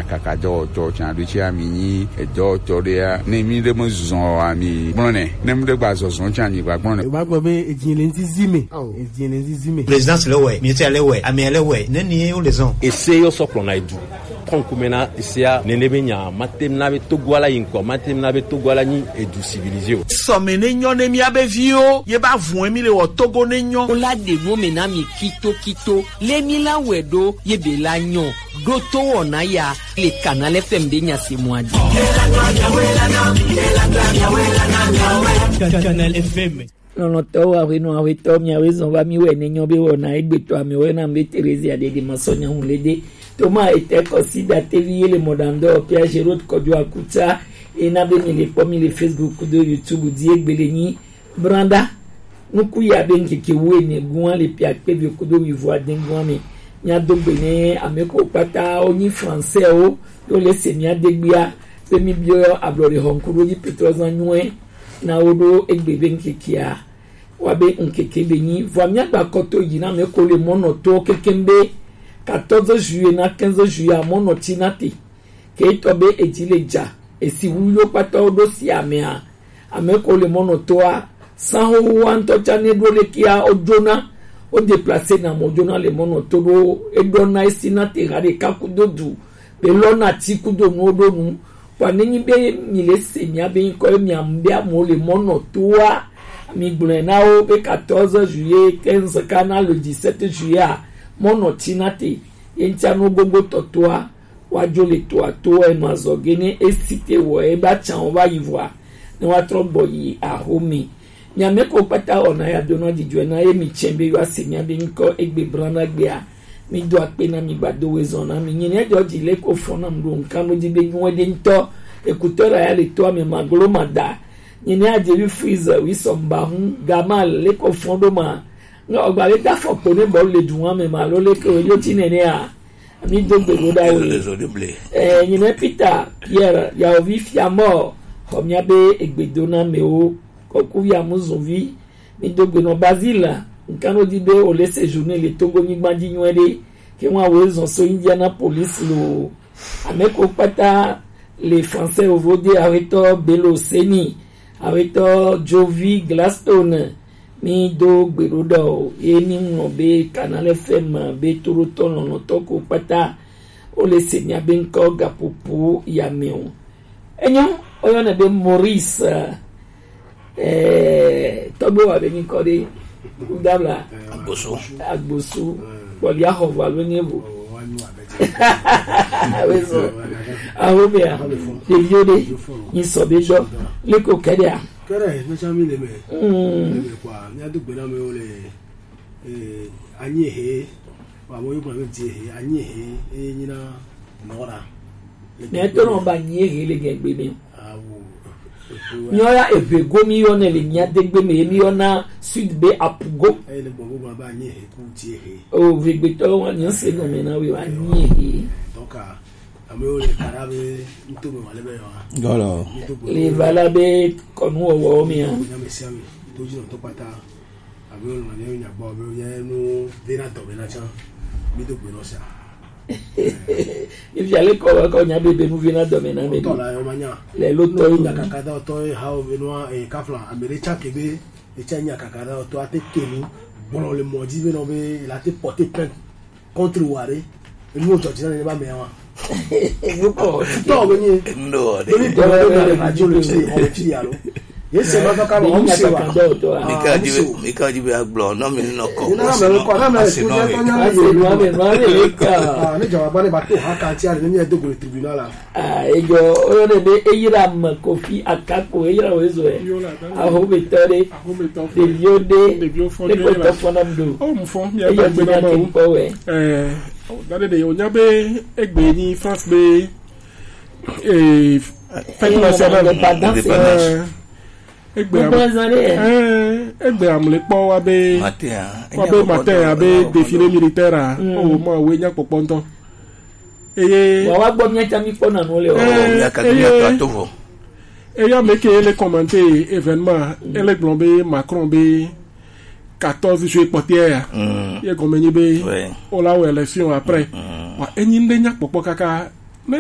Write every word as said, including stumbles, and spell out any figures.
Kaka dɔwɔtɔ can ɖo ci ami nyi edɔwɔtɔ ɖe ya. Ne mi ɖe me zɔn ami gblɔ nɛ. Ne mi ɖe gba zɔzɔn can nyi gba gblɔ nɛ. Wa gbɔ be edzi le ŋdi zi me. Awo. Edzi le ŋdi zi me. Présidence le wɛ, ministère le wɛ, amia le wɛ. Ne ni wo le zɔn. Ese yo sɔ kplɔ na edu. Kɔnkume na esea nene be nya matem na be Togo ala yi ŋkɔ, matem na be Togo ala nyi edu civilisé o. Sɔme ne nyɔ ne mia be viwo, ye ba vun mi le wɔ Togo ne nyɔ. Wo la ɖe nu me na mi kito kito. Le mi la wɛ ɖo ye be la nyɔ. Ɖo to wɔna ya le Canal F M be nya se mɔ adi. Canal F M. Lɔlɔ̃tɔwo, aƒenɔ, aƒetɔ, miawoe zɔn va mi wɛ ne nyɔ be wɔna egbetɔ amewo yɔna be Terezia ɖeɖe masɔ nyawu le de. Toma ete kɔsi datevi ye le mɔɖaŋdɔ Pierre Gerot kɔjo akuta ye na be mi le kpɔ mi le Facebook kudo YouTube di egbe le nyi Branda. Nuku ya be ŋkeke wuiene gua le pia kpe vi kudo wi vɔ ade gua me. Mia do gbe ne ame ko kpata wo nyi français o, yo le se mia degbia be mi biɔ ablɔ de hɔnku do nyi Petro zan nyuɛ. Na wo ɖo egbe be ŋkekea wa be ŋkeke be nyi vɔa mia gba kɔtɔ yi na me ko le mɔnɔ to kekem be quatorze juillet na quinze juillet a mɔnɔ ti na te. Ke tɔ be edzi le dza esi wu yo kpata wo ɖo si amea ame ko le mɔnɔ toa san xoxo wa ŋutɔ tsa ne ɖo le kia wo dzona wo déplacer na mɔ dzona le mɔnɔ to ɖo eɖɔ na esi na te ha ɖeka kudo du be lɔ na ti kudo nuwo ɖo nu. Kpɔ ne nyi be mi le se mia be ŋkɔ ye mia mu be amewo le mɔnɔ toa, mi gblɔe na wo be quatorze juillet quinze kana le dix-sept juillet a mɔnɔ ti na te ye ŋtia nu gbogbo tɔtoa wa dzo le toa to e ma zɔ ge ne esi te wɔ e ba tsan wo va yi vɔa ne wa trɔ gbɔ yi axome. Mia me ko kpata wɔna ya dona dzidzɔe na ye mi tsɛ be yɔ ase mia be ŋkɔ egbe bla na gbea. Mi do akpe na mi gbado we zɔn na mi. Nyi ne dzɔ dzi le ko fɔ na mi ɖo ŋkan ɖo dzi be nyuɛ ɖe ŋutɔ. Ekutɔ la ya le to ame ma glo ma da. Nyi ne adze bi freeze wi sɔ mba hu gama le ko fɔ ɖo ma. Ŋa ɔgba le da fɔ kpo ne bɔ le du wa me ma lo le ke o yo ti nene a. Mi do gbe ɖo ɖa wo. Ɛ, nyi ne Peter Pierre yawo vi fia mɔ xɔ mia be egbe do na me wo. Kɔku ya mu zun vi. Mi do gbe nɔ Basile, ŋkan ɖo di be wo le séjourné le Togo nyigba dzi nyuie ɖe, ke ŋu awo zɔn so Indianapolis lo. Ame ko kpata le français ovo de awetɔ Belo Seni, awetɔ Jovi Gladstone, mi do gbe ɖo ɖɔ ye mi ŋlɔ be Canal F M be toɖotɔ lɔlɔtɔ ko kpata wo le se mia be ŋkɔ gaƒoƒo ya me o. Enyo, woyɔnɛ be Maurice. Eh, tɔgbe wa be nyikɔ ɖe. Kudabla. Agbosu. Agbosu. Kpɔlia xɔ vɔ alo nye vo. Awe so. Awo mea. Ɖeviwo ɖe. Nyi sɔ be dɔ. Liko kɛɖea. Kɛɖe, metsã mi le me. Mm. Le me kwa, mia do gbe na me wo le. Eh, anyi he, wa mo yugba me di he, anyi he, e nyina nora. Ne to no ba anyi he le gbe mi. Awo. Nyɔ ya eve go mi yɔ ne le mia de gbe me, mi yɔ na sud be apugo. E le gbogbo ba anyi he ku di he. O ve gbe to wa nyi se no me na we wa anyi he. Donc, ame wo le kara be nto me wa le be yo. Gɔlɔ. Le vala be kɔnu wɔwɔ mi a. Nya me sia me. To ji no to pata. Abe wonɔ ne nya gbɔ be ye nu vena dɔme na tsã. Mi do gbe nɔ sia. Ifia le kɔ kɔ nya be be nu vena dɔme na me. Tɔ la yo ma nya. Le lo tɔ nya kaka da tɔ ha o be nua e kafla ame ɖe tsã ke be e tsã nya kaka da tɔ ate ke nu gblɔ le mɔ dzi be nɔ be la te porter plainte contre wa ɖe. Enu wo dzɔ dzi na ne ba mea wa. Nukɔ. Tɔ be nye. Ndo de. Be ni dɔ be na radio le fi o fi ya lo. Ye se ma ka ma o se wa. Mika di be, mika di be agblɔ, no mi no kɔ. Na me ko, na me ko je ko nya me yo. Ah, ne jawaba ne ba to ha ka ti ale ne mi do go tribunal la. Ah, ejo, o ne be eyira ma Kofi Akako, eyira o ezo e. Aho be tɔ ɖe. Ɖeviwo ɖe. Ɖeviwo fɔ ɖe. Ɖeviwo fɔ nam do. O mu fɔ mi agbe na ma o. Eh, dade de o nya be egbe ni France be eh, fête nationale. Indépendance. Eh, egbe am-, eh, egbe amle kpɔ wa be, wa be matin abe défilé militaire a. O ma we nya kpɔkpɔ ŋutɔ. Eye wa wa gbɔ mia tsa mi kpɔ na nu le o. Eh, mia ka mia to ato vɔ. Eya me ke le commenter événement, ele gblɔ be Macron be quatorze juillet kpɔtɛa ya. Ye gɔme nyi be o la wɔ élection après. Wa enyi ŋɖe nya kpɔkpɔ kaka